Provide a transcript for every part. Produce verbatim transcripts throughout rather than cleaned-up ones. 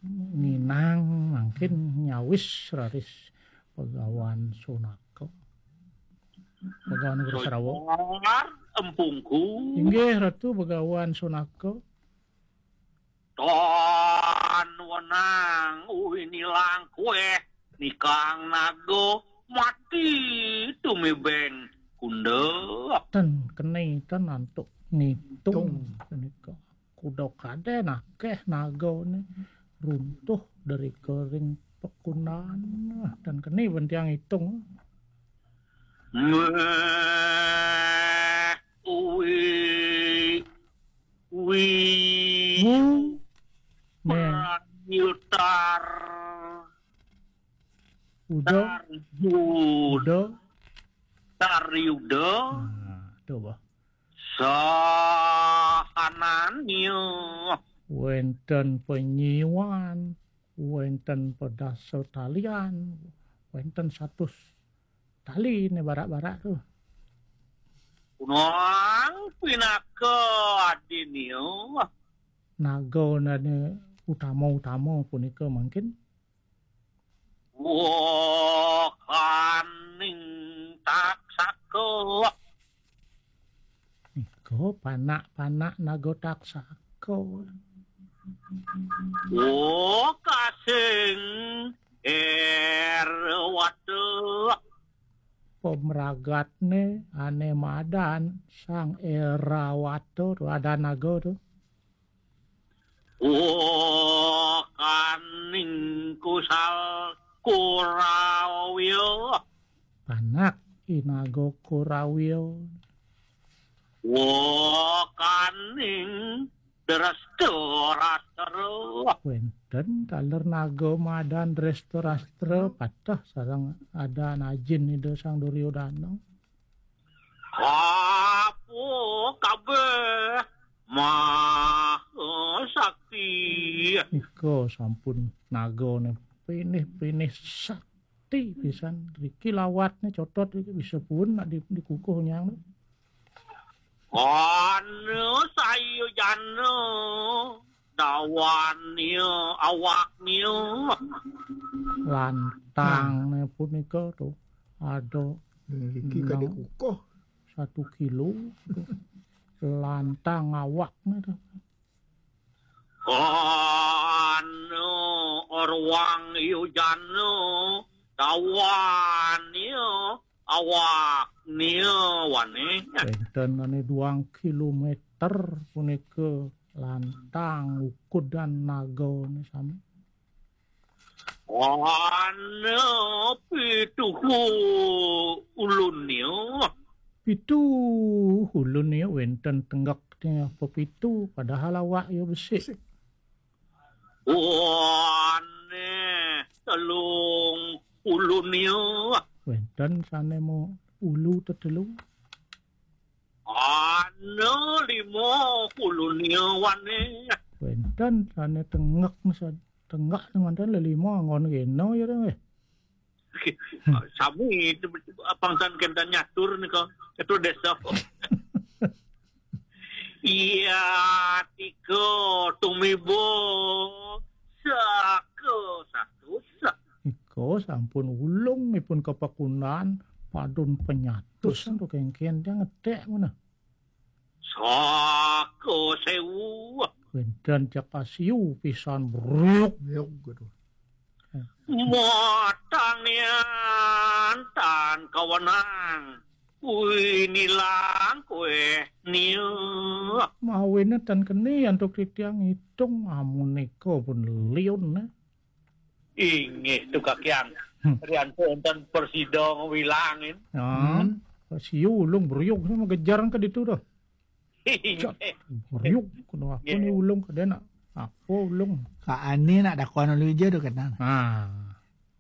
nginang mangkin nyawis raris Begawan Sunaka. Begawan Guru Srawa. Sojar empungku. Inggih Ratu Begawan Sunaka. Tan wenang uwi nilang kueh nikang naga mati tumibeng kunda. Ten keni ten antuk ngitung punika. Kuda kaden akeh nagane runtuh dari kering pekunan. Ten keni ben tiang ngitung. Meh, uwi, uwi, wu, meh, prayutar, uda, tarjud, uda, taryuda. Nah, coba. Sahananya. Wenten penyiwan, wenten pedasa talian, wenten satus tali ne barak-barak tu. Kunang pinaka adinya. Naga nane utama-utama punika mangkin. Wakaning taksaka. Nika panak-panak naga taksaka. Wakasing Erawata. Pemragatne ane madan Sang Erawata tu, adan naga tu. Wakaning kusal Kurawya. Panak i naga Kurawya. Wakaning Dresta Rastra. Wenten taler naga madan Dresta Rastra pateh sareng adan ajin Ida Sang Duryodana. Apa kabeh Maha Sakti. Nika sampun nagane pinih-pinih sakti pisan. Riki lawatne cotot riki bisa pun nak di, dikukuh nyang. Ana sayujana dawane awakne. Lantangne punika tu ada niki kadek kukuh satu kilo. Lantang awakne tu. Ana orwang yujana dawane awakne wane. Wenten ane duang kilometer punika lantang ukudan nagane sami. Ana pituhu ulunnya. Pituhu ulunnya wenten tenggek pepitu padahal awak ya besik. Ane telung ulunnya. Wenten sane mau ulu tetelu. Ana lima ulunnya wane. Wenten sane tenggek masa tenggek manten lelima anggon kena ya dong eh. Sami itu pangsan kenten nyatur nika ketua desa. Iya, tiga tumibo saka satus. Nika sampun ulung ipun kepekunan padun penyatus. Terus tu kengken dia ngetek mana? Saka sewu. Wenten cak asiu pisan bruk. Bruk gitu. Matang nian tan kawenang. Kuwi nilang kuwe nia. Mawine tan keni antuk titiang ngitung amunika pun liun ne. Inggih tu kakiang. Hmm. Rianto enten persida ngewilangin. Ya. Hmm. Siu ulung bruyuk sama gejar ke ditu dah. Cat, riuk, kudu apa ni ulung kadena? Apa ulung? Kak Ani nak dakon ulu ija tu kadena. Ha.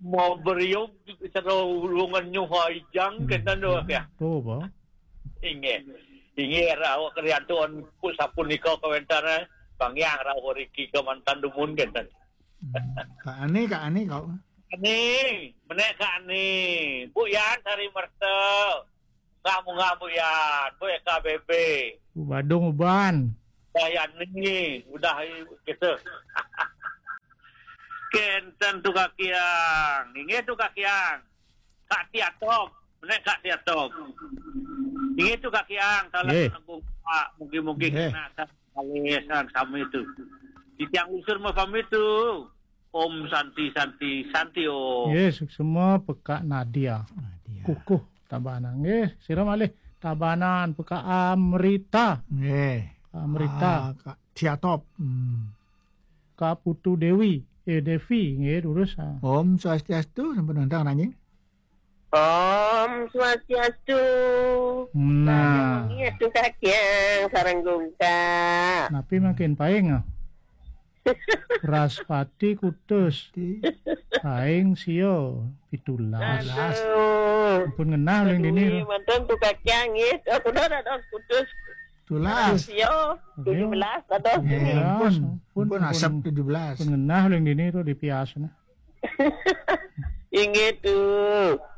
Mau beriuk cara ulungan nyuha ijang kadena tu ya. Tu apa? Inggih. Inggih rawak keriantuan ku sapunika kawentar eh. Pangyang rawak riki ke mantan dumun kadena. Hmm. Kak Ani, Kak Ani kau. Ani, menek Kak Ani. Bu Yan sari merta. Munggah-munggah Bu Yan, Bu Eka Bebe. Bu Badung Uban. Udah Yan ni, udah kita. Kenten tu Kakiang. Inggih tu Kakiang. Kak Tiatok. Nek Kak Tiatok. Inggih tu Kakiang. Salah Nggih. Nanggung Pak. Mugi-mugi Nggih. Kena sa-, kali sang sami tu. Titiang usur mapamit tu. Om Santi, Santi, Santi Om. Nggih, suksma Pekak Nadia. Nadia. Kukuh Tabanan. Nggih, sira malih Tabanan Pekak Amrita. Nggih. Amrita. Ah, Kak Tiatop. Hmm. Kak Putu Dewi, eh, Devi, nggih, durus, ah. Om Swastiastu, sampun wénten nanging. Om Swastiastu. Nah. Sareng wengi Atu Kakiang, sareng Gungkak. Napi mangkin paing, ah? Wraspati kutus. Ti. Paing sia pitulas. Aduh. Ampun ngenah uling dini, Aduh, ro. Manten tu Kakiang, nggih. Aku dah ada kutus. Tulas. Sia, Ayo. Tujuh belas, ada Nggih, sini. Ampun, ampun, ampun, ampun. Asap tujuh belas. Ampun ngenah uling dini, ro, dipias, nah. Inggih tu.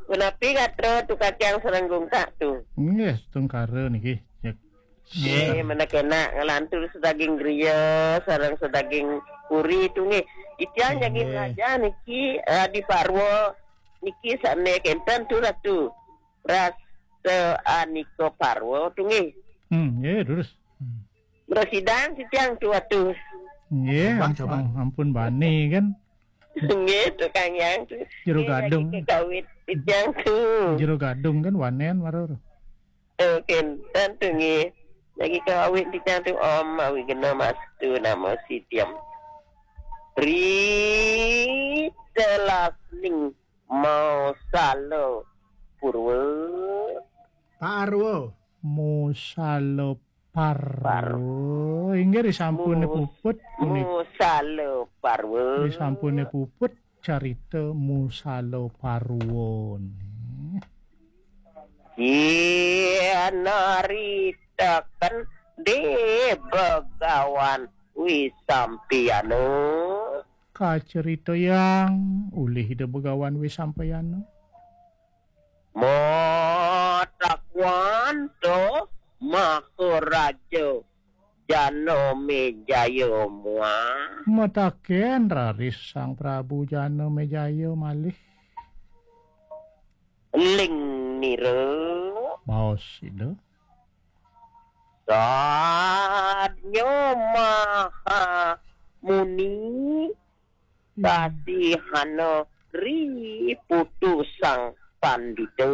Punapi gatra tu Kakiang sareng Gungkak tu? Nggih, tungkara niki. Ya. Nggih, manakénak nglantur sadaging griya sareng sadaging puri tu nggih. Titiang jagi Nggih. Nglajar niki, eh, di Parwa niki sané kénten tu Ratu. Rasa Anika Parwa tu nggih. Hmm, nggih, terus. Hmm. Mrasidang titiang tu Ratu. Nggih, Coba, coba. Ampun, ampun bani kan. Nggih, Tukang Yang tu. Jero Nggih, gadung. Lagi kekawit titiang tu. Jero gadung kan wanen marur. Eh, kénten tu nggih. Lagi kekawit titiang tu Om Awighnamastu Namo Sidham. Ri telasning mau sala purwa. Parwa. Musala Parwa. Parwa. Inggih, risampune Mus-, puput punika. Musala Parwa. Risampune puput carita Musala Parwa. Yen naritaken di Begawan Wisampayana. Kacaritayang ulih Ida Begawan Wisampayana. Matakwanta Maharaja Janamejaya muah. Mataken raris Sang Prabu Janamejaya malih. Ling nira. Baos Ida. Sadnya Maha Muni. Hmm. Kasihana ri putu Sang Pandita.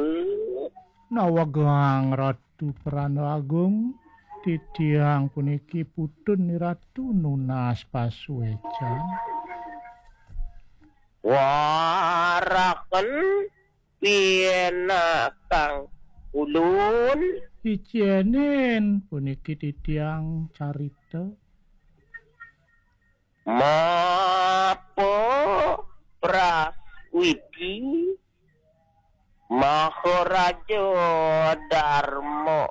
Nawegang Ratu Pranda Agung, titiang puniki putun Ratu nunas pasuecan. Waraken pinakang ulun. Icenen puniki titiang carita. Mapa praswiti Maharaja Darma,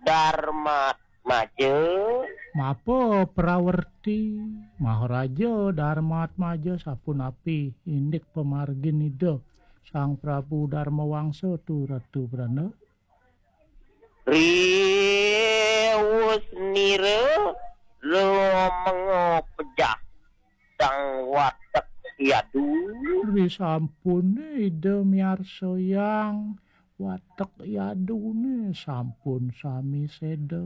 Darmatmaja. Mapa prawerti Maharaja Darmatmaja sapunapi indik pamargin Ida Sang Prabu Darmawangsa tu Ratu Pranda? Riwusnira lumenga pejah Sang Watek Yadu. Risampune Ida miarsayang Watek Yadune sampun sami seda.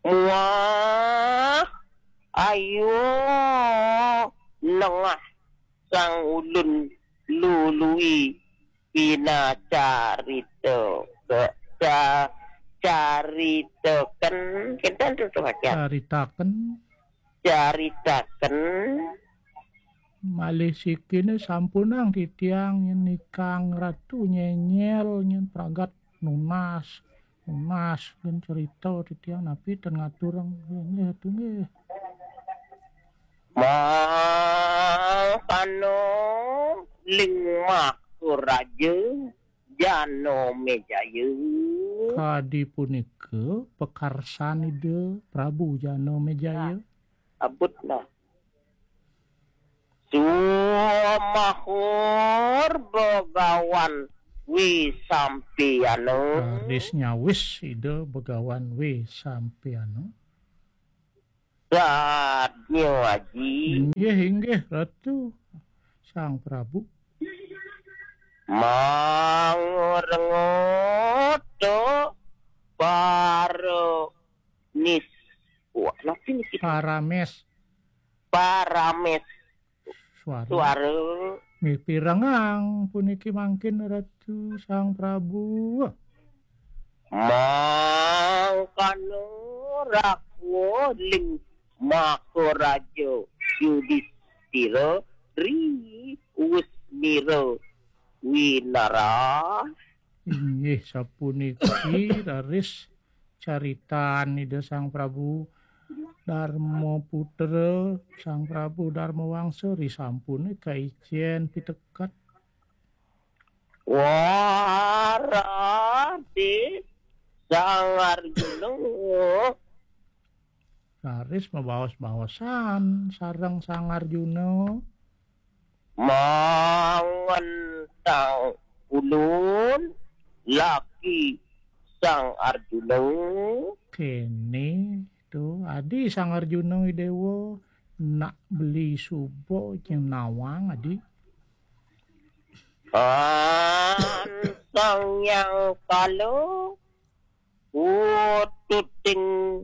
Muah ayo nengah sang ulun lului pinacarita ke ca-, caritaken. Kenten tu, tu, Hajar. Caritaken. Caritaken. Malih sikine sampunang titiang yen nikang Ratu nyenyel nyen pragat nunas. Nunas gen cerita titiang napi ten ngaturang nggih tu nggih. Mangkana ling Maharaja Janamejaya. Kadi punika pakarsan Ida Prabu Janamejaya. Nah, abut nah. Sumahur Begawan Wisampayana. Raris nyawis Ida Begawan Wisampayana. Sadnya, Aji. Inggih, inggih, Ratu Sang Prabu. Mangorengoto para nis. Wah, napi niki? Parames. Parames. Suara. Suara. Mipirengang puniki mangkin Ratu Sang Prabu. Mangkana rakwa ling Makaraja Yudhistira ri Usmira winara. Inggih sapuniki raris caritan Ida Sang Prabu Darma Putra, Sang Prabu Darma Wangsa ri sampune kaicen piteket. Warade Sang Arjuna. Raris mabaos-baosan sareng Sang Arjuna. Mangen tang ulun laki Sang Arjuna. Kene tu adi Sang Arjuna Idewa nak beli suba jeng nawang adi. An Sang Yang Kala ututing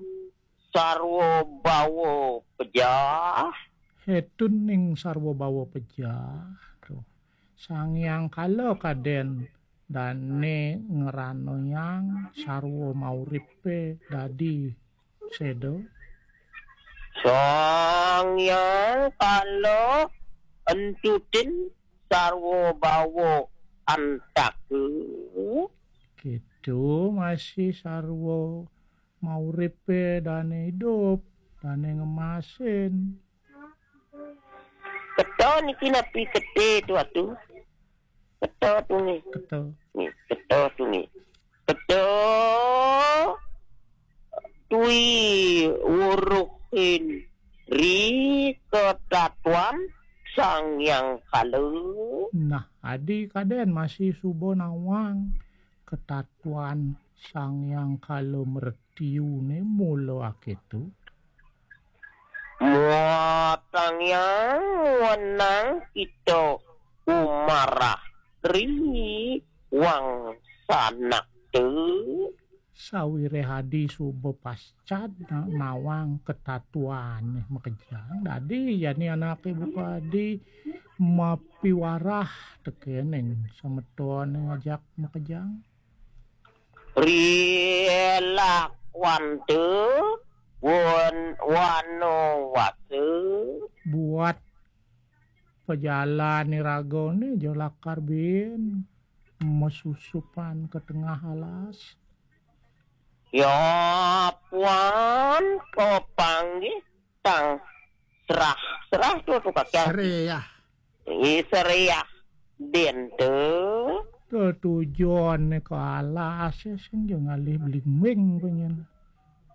sarwa bawa pejah. Hetun ning sarwa bawa pejah. Tuh. Sang Yang Kala kaden dane ngeranayang sarwa mauripe dadi seda. Sang Yang Kala entutin sarwa bawa antaka. Gitu masih sarwa mauripe dane idup, dane ngemasin. Keta niki napi kete tu atu? Keta tu ni. Keta. Ni, keta tu ni. Keta tui uruhin ri ketatuan Sang Yang Kala. Nah, adi kaden masih suba nawang ketatuan Sang Yang Kala mretiune mula aketu. Muatang yang wenang kita umarah ri wang sanak tu. Sawireh adi suba pascad na-, nawang ketatuane makejang. Dadi jani anake buka adi mapiwarah tekening semetone ngajak makejang. Rilak wante wan-, wano wase. Buat pejalan iragane aja lakar bin mesusupan ke tengah alas. Ya puan kepanggih tang serah. Serah tu, tu kaki. Seriah. Ih, seriah. Din tu. Tetujon ke alas sing jo ngalih belimbing penyen.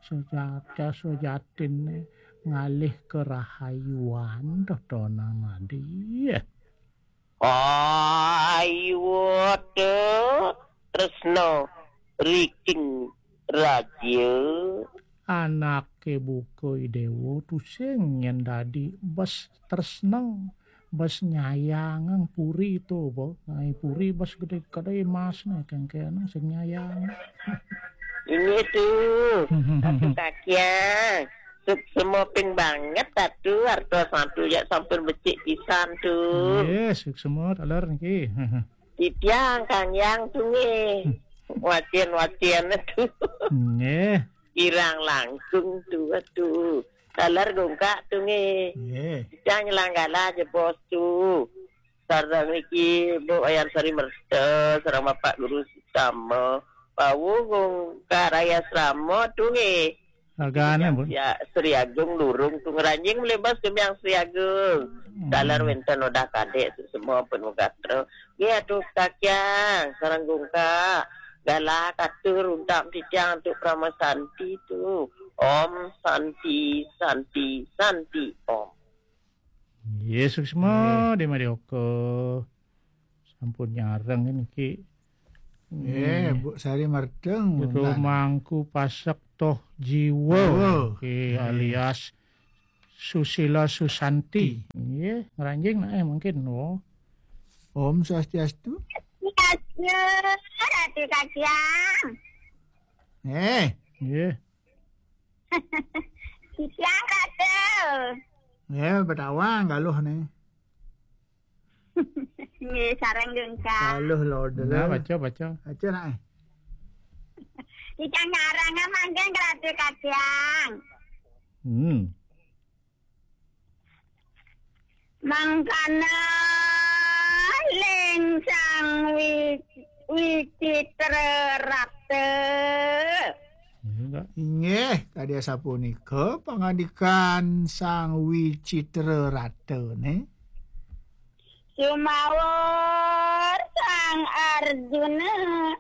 Sejata sejatin ngalih kerahayuan totonan adi. Ayu te tresno riking raja. Anake buka idewa tusing yen dadi bes tresno, bes nyayang puri tu, bo. Ngai puri bes gede-gede emas ne, kengkene sing nyayang. Ini tu, satu kakiang. Suksema ping banget satu, arto satu ya sampun becik pisan tu. Yes, suksema taler niki. Titiang Kang Yang tu nggih. Wacin-wacin tu. Nggih. Kirang langkung tu, aduh. Taler gungkak tu nggih. Nggih. Titiang nyelanggala aja bos tu. Sareng niki Bu Ayam Sari Merta, sareng Bapak Guru Sitama. Pawu gungkak raya Srama tu nggih. Ragane, Bu. Ya, Sri Agung Lurung tu ngranjing melebas kembiang Sri Agung. Hmm. Taler wenten udah kadek semua pun gatra. Nggih atuh kakyang sareng gungkak. Galah katur untak titiang antuk Parama Santi tu. Om Santi, Santi, Santi, Om. Nggih, suksma, nggih. Di Madioka. Sampun nyareng niki. Nggih, Bu Sari Merteng, Jero Bundan. Mangku Pasek Toh Jiwa. Jiwa. Nggih, nggih. Alias Susila Susanti. Nggih, ngranjing nae mungkin. Oh. Om Swastiastu. Swastiastu, Ratu Kacang. Eh. Nggih. Titiang, Ratu. Nggih, betawang galuh ne. Nggih, sareng gengkang. Galuh lho, nah, baca, baca. Baca nae. Titiang nyarang mangkin, Ratu Kacang. Hmm. Mangkana ling Sang Wi-, Wicitra Rata. Inggih, kadi asapunika pangandikan Sang Wicitra Rata ne. Sumawur Sang Arjuna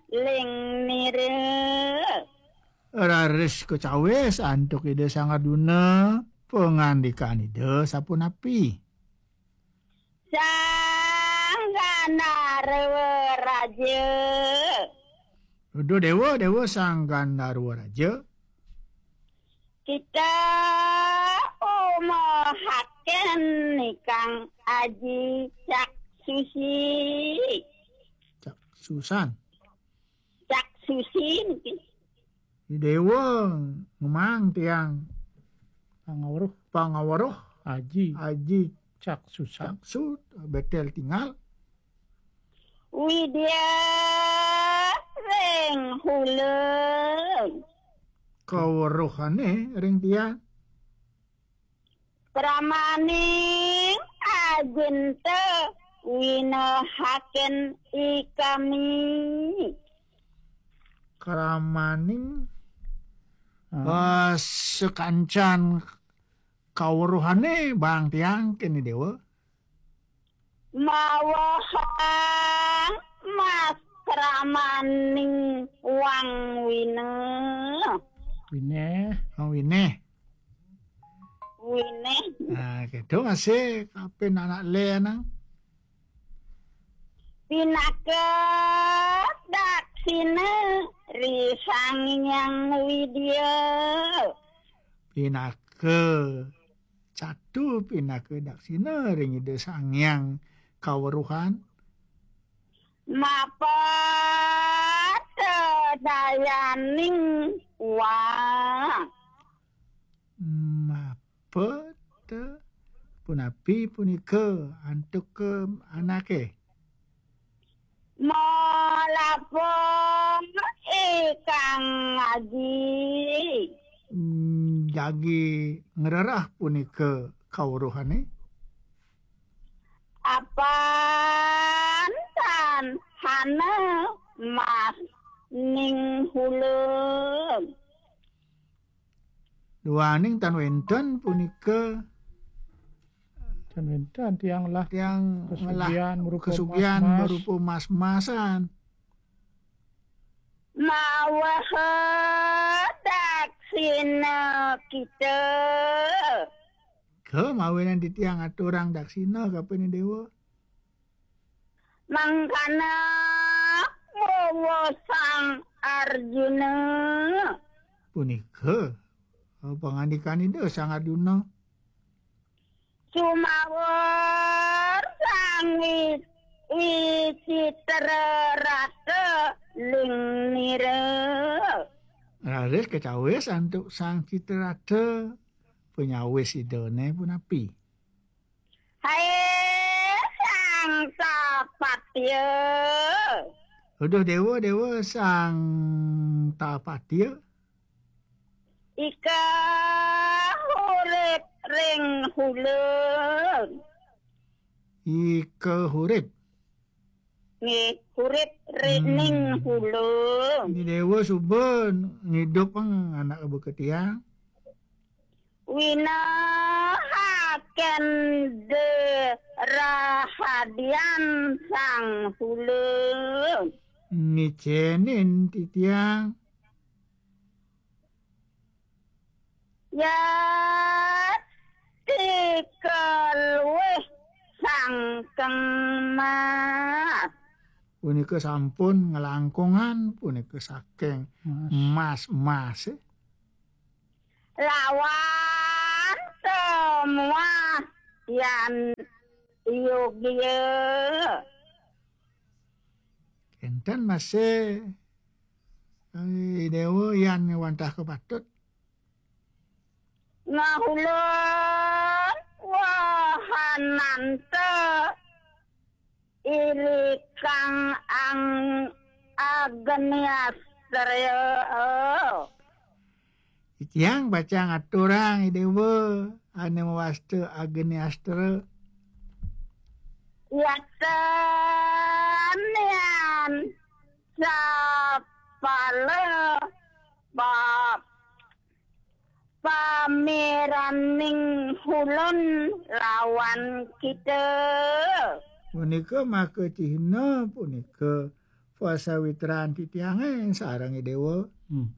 ling nira. Raris kacawis antuk Ida Sang Arjuna pangandikan Ida sapunapi. Sang Gandharwa Raja. Duh Dewa, Dewa Sang Gandharwa Raja. Kita umahaken nikang aji caksusi. Caksusan. Caksusi niki. Dewa ngemang tiang. Pangaweruh. Pangaweruh. Aji. Aji. Caksusan. Caksu, betel tingal. Widya ring huleng. Kaweruhane ring tiang. Pramaning ajinta winahaken ikami. Kramaning, ah, sakancan kaweruhane bang tiang kene Dewa. Mawehang mas kramaning wang wina. Wineh. Oh, wineh. Wineh. Nah, gitu masih kapin anak le nang. Pinaka daksina ri Sang Hyang Widya. Pinaka catu, pinaka daksina ring Ida Sang Hyang kaweruhan. Mapeta dayaning wang. Mapeta punapi punika antuk ke anake. Malapa ikang aji. Hmm, jagi ngrereh punika kawruhane. Apan tan hana mas ning hulun. Duaning tan wenten punika. Tan wenten tiang lah tiang ngelah kesugihan merupa kesugihan mas-mas. Merupa mas-masan. Maweha daksina kita. Ke mawinan titiang aturang daksina kapene Dewa. Mangkana wawa Sang Arjuna. Punika, eh, pangandikan Ida Sang Arjuna. Sumawur Sang Wi-, Wicitra Rata ling nira. Raris kacawis antuk Sang Citrarata, panyawis Idane punapi? Hai Sang Tapatya. Uduh Dewa, Dewa Sang Tapatya. Ika hurip ring hulun. Ika hurip. Nggih, hurip ri-, hmm, ning hulun. Ini Dewa suba ngidup pang anak beka tiang. Winahaken de rahadian Sang Hulun. Ngicenin titiang. Ya, tika luwih sangkeng mas. Punika sampun nglangkungan, punika saking mas, mas, eh. Lawan to Muah yan yogya. Enten masih, eh, Dewa yan wantah kapatut. Ngahulun wahananta irikang ang Agniastra. Titiang pacang aturang, I Dewa, ane mawasta Agniastra. Yatan yan sapala pa-, pameraning hulun lawan kita. Punika maka cihna punika pasawitran titiange sareng I Dewa. Hmm.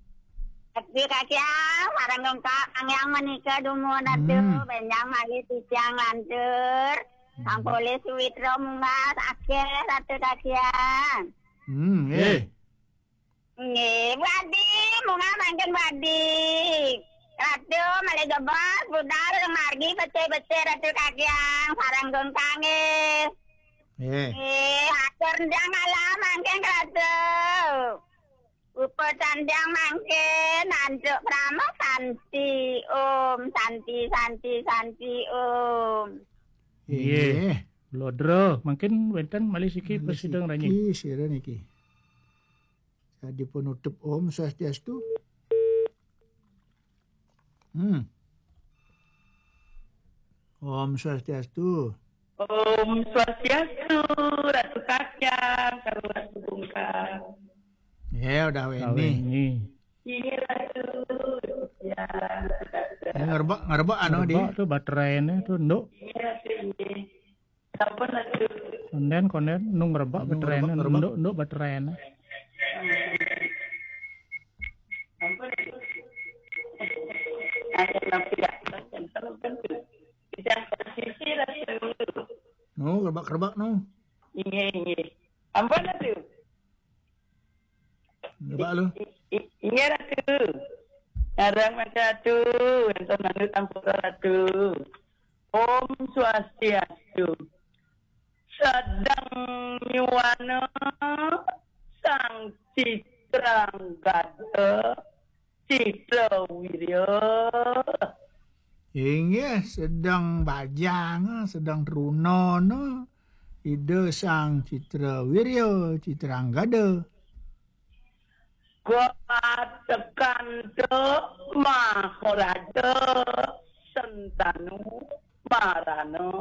Ati kakiang, sareng dongkak, angyang menika dumun atu, hmm, benjang malih titiang lantur. Hmm. Sampun sawitra munggah akhir atu kakiang. Hmm, eh. Nggih, Bu Adi, munggah mangkin Bu Adi. Ratu malih jebos, budal margi becik-becik Ratu kakiang, sareng dongkak nggih. Nggih. Nggih, atur ndang alam mangkin Ratu. Upacandang mangkin antuk krama santi. Om santi, santi, santi, om. Inggih. Inggih. Lodra, mangkin wenten malih siki. Malih prasida niki, ngranying. Sira niki. Sadia penutup, Om Swastiastu. Hmm. Om Swastiastu. Om Swastiastu, Ratu Kakyang, sareng Ratu Bungkang. Ya, udah Ratu Weni. Weni. Ini Ratu. Ya, Ratu Kakyang. Ini ngerebek, ngerebek anu, Di. Ngerebek tuh baterainya tuh, Nduk. Iya, Ratu, ini. Sampun, Ratu. Konden, konden, nu ngerebek baterainya, ngerebek, ngerebek. Nduk, Nduk baterainya. Sampun, Ratu. Ada napi, ya. Sampun, Ratu. Bisa posisi, Ratu. Nu, ngerebek, ngerebek, nu. Inggih, inggih. Ampun, Ratu. Coba lu. I-, i-, inggih, Ratu. Sareng Mas Ratu, wenten manut ampura, Ratu. Om Swastiastu. Sedeng nyuwana Sang Citranggada, Citrawirya. Inggih, sedeng bajang, sedeng trunana Ida Sang Citrawirya, Citranggada. Gatekanta Maharaja Sentanu Marana.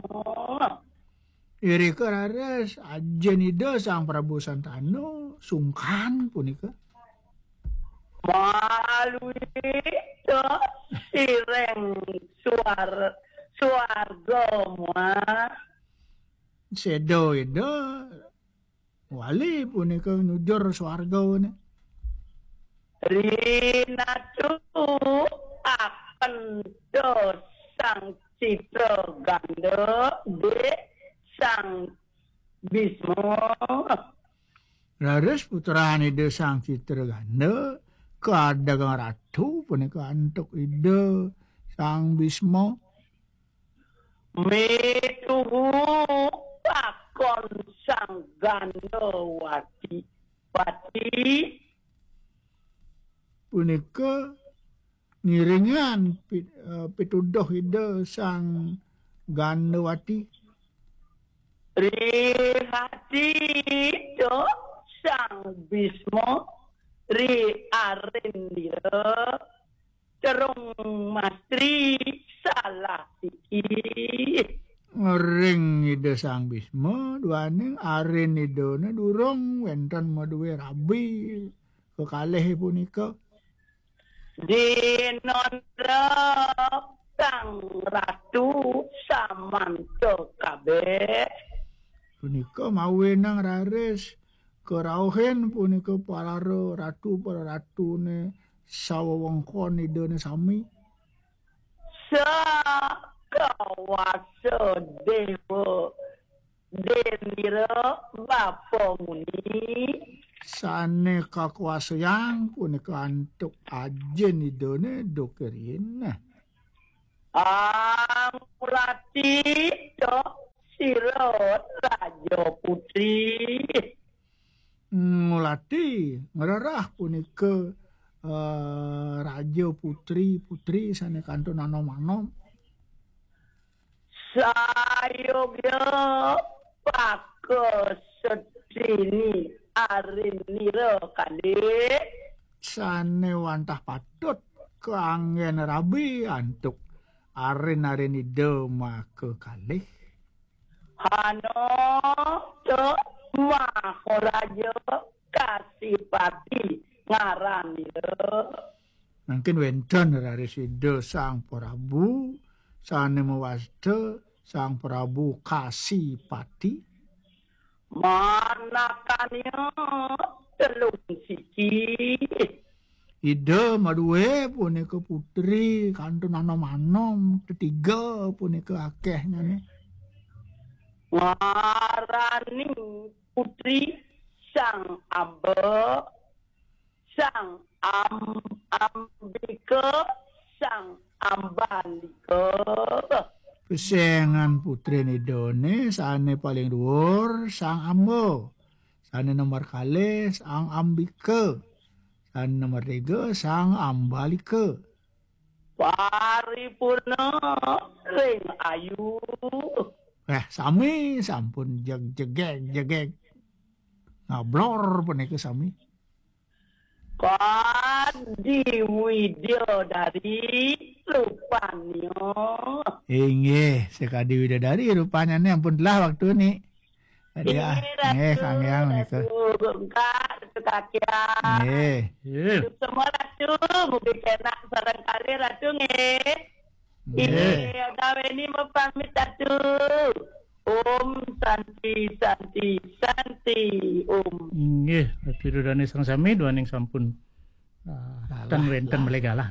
Irika raris ajin Ida Sang Prabu Sentanu sungkan punika. Maluita siring suar-, suarga muah. Seda Ida wali punika nujur suargane. Rinatu akenta Sang Citraganda, Dik Sang Bisma. Raris putran Ida Sang Citraganda kaadeg ratu punika antuk Ida Sang Bisma. Mituhu pakon Sang Gandawati, Wati. Punika ngiringan pi-, eh, pituduh Ida Sang Gandawati. Rihati Ida Sang Bisma, ri arindira, terung mastri salah siki. Ngering Ida Sang Bisma, duaning arin Idane durung wenten madue rabi kekalih punika. Dinandra Sang Ratu samanta kabeh. Punika mawenang raris karauhin punika para ratu, para ratune sawewengkon Idane sami. Sakawasa Dewa Dendira Bapa Muni. Sane kakuasayang punika antuk ajin Idane Dokirina. Angulati, cok, sira Raja Putri. Ngulati, ngrerah punika, eh, Raja Putri, Putri sane kantun anom-anom. Sayogya paka sedini arinira kalih. Sane wantah patut kaanggen rabi antuk arin-arin Ida maka kalih. Hana, cok, Maharaja Kasipati ngaranira. Mangkin wenten raris Ida Sang Prabu sane mawasta Sang Prabu Kasipati. Manakanya telung siki. Ida madue punika putri kantun anom-anom, tetiga punika akehnyane. Ngaraning putri Sang Amba, Sang Am-, Ambika, Sang Ambalika. Pesengan putrin Idane sane paling dhuwur Sang Amba. Sane nomor kalih Sang Ambika. Sane nomor tiga Sang Ambalika. Paripurna ring ayu. Eh, sami sampun jeg-, jegeg-jegeg. Ngablor punika sami. Kadi Widya dari rupanya. Inggih, sekadi Widya dari rupanyane ampun telah waktune. Tadi, ah, Inggih, nggih, Ratu, Kang Hyang menika. Ratu Bungkak, Ratu Kakyang. Nggih. Nggih. Semua Ratu, mugi kenak sareng kalih Ratu nggih. Nggih. Inggih, Odaweni mapamit Ratu. Om Santi, Santi, Santi, Om. Inggih, Ratu Ida Dane sareng sami duaning sampun, ah, Galah, ten wenten lah. Malih galah.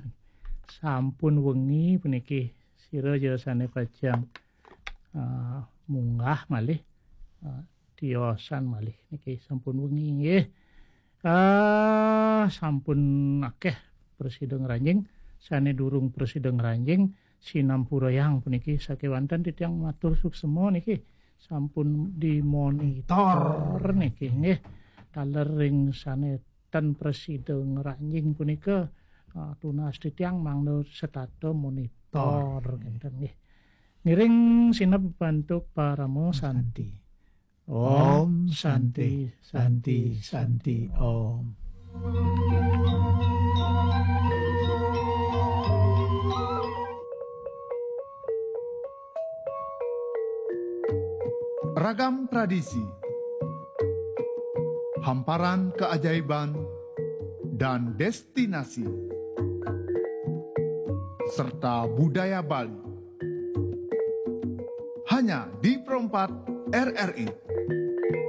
Sampun wengi puniki sira ja sane pacang, ah, munggah malih, ah, tiosan malih niki sampun wengi nggih. Ah, sampun akeh prasida ngranjing, sane durung prasida ngranjing, sinampurayang puniki sakewanten titiang matur suksema niki sampun dimonitor niki nggih. Taler ring sane ten prasida ngranjing punika, ah, tunas titiang mangda setata monitor ngenten nggih. Ngiring sineb bantuk parama santi. Om Santi, Santi, Santi, Om. Ragam tradisi, hamparan keajaiban, dan destinasi, serta budaya Bali. Hanya di Pro empat R R I.